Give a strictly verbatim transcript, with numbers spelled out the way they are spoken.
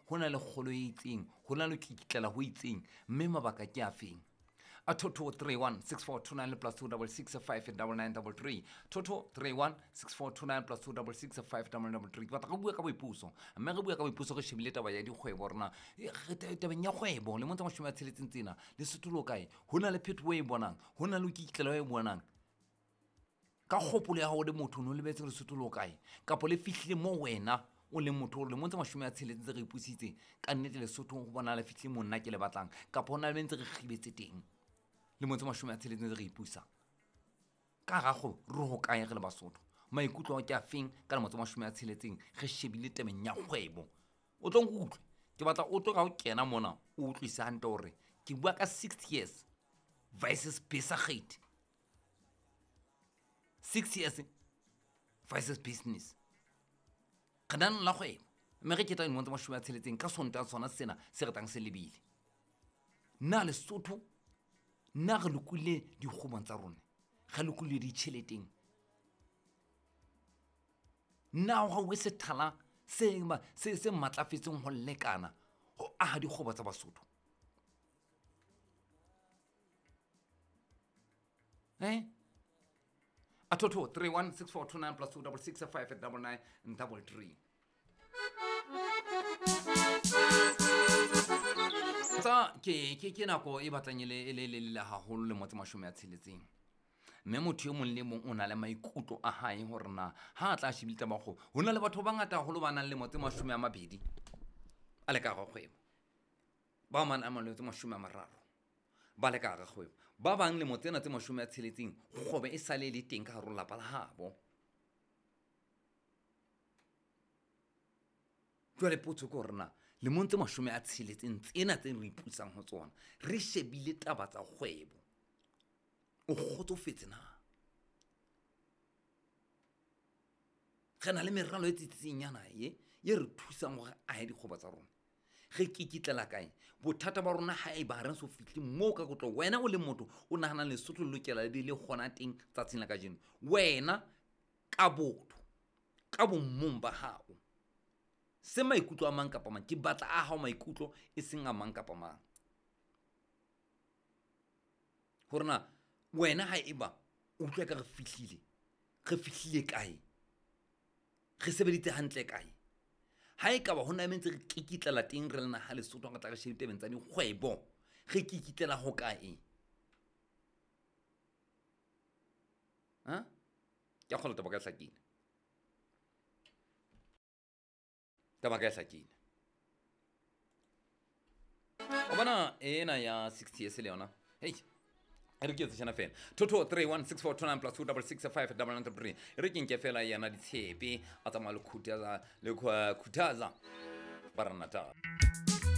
Ho na le kgolo e itseng, ho na le kitlela ho itseng, mme mabaka ke a feng? A two two three one six four two nine plus two double six five double nine double three. Two two three one six four two nine plus two double six five double nine double three. Ke batla re bua ka boipuso, mme re bua ka boipuso re shebile taba ya dikgwebo rona. Tabeng ya kgwebo lemong tse mashome a tsheletseng tsena Lesotho le kae? Ho na le phetoho e bonang, ho na le kitlelo e bonang. Ka kgopolo ya hao le motho o no lebetse Lesotho le kae? Kapa le fihlile mo wena o leng motho o lemong tse mashome a tsheletseng tse re ipusitseng, ka nnete Lesotho ho bona le fihlile mo nna ke le batlang, kapa ho na le ntse re kgibetse teng lemong tse mashome a tsheletseng tse re ipusa. Ka hara kgwebo re ho kae re le Basotho? Maikutlo ao ke a feng ka lemo tse mashome a tsheletseng re shebile tabeng ya kgwebo? O tlo nkutlwe, ke batla o tlo ka o kena mona o utlwise hantle hore ke bua ka six years versus besigheid. Six years versus business. Re nang la kgwebo mme re ketla dilemong tse mashome a tsheletseng ka Sontaha sona sena se re tlang se lebile. Na Lesotho, na re lokolohile dikgwebong tsa rona? Re lokolohile ditjheleteng? Na ho hauwe sethala se se se matlafetseng ho lekana ho aha dikgwebo tsa Basotho? Eh? A two two three one six four two nine plus two double six five double nine double three. Tsa ke ke ke nako e batlang e le e le le le haholo le motse mashome a tsheletseng. Mme motho e mong le mong o na le maikutlo a hae hore na ha a tla shebile taba ya kgwebo. Ho na le batho ba bangata haholo ba nang le motse mashome a mabedi a le ka hara kgwebo. Ba mang a motse mashome a mararo ba le ka hara kgwebo. Ba bang le motse tsena tse mashome a tsheletseng kgwebo e sale le teng ka hare ho lelapa la habo. Jwale potso ke hore na lemong tse mashome a tsheletseng tsena tse re ipusang ho tsona re shebile taba tsa kgwebo, o kgotsofetse na? Re na le meralo e tsitsitseng ya naha e e re thusang hore ahe dikgwebo tsa rona. Re kikitlela kae? Bothata ba rona ha eba ha re so fihle moo ka kotlo. Wena o le motho o nahanang Lesotho le lokela le be le kgona teng tsatsing la kajeno. Wena ka botho, ka bommong ba hao, se maikutlo a mang kapa mang, ke batla a hao maikutlo e seng a mang kapa mang. Hore na wena ha eba o utlwa ka re fihlile, re fihlile kae? Re sebeditse hantle kae? Ha ekaba ho na le ntse re kikitlela teng re le naha Lesotho re tla re shebe tabeng tsa dikgwebo, re kikitlela ho kae? Ha? Ke a kgolwa taba ka e hlakile. Taba ka e hlakile. O bona ena ya sixty years le yona. Hey. Re ke tsena fela. Two two three one six four two nine plus two double six five double nine three. Re ke nke fela yena ditshepe a tsamaya le khuthaza le khuthaza baranata.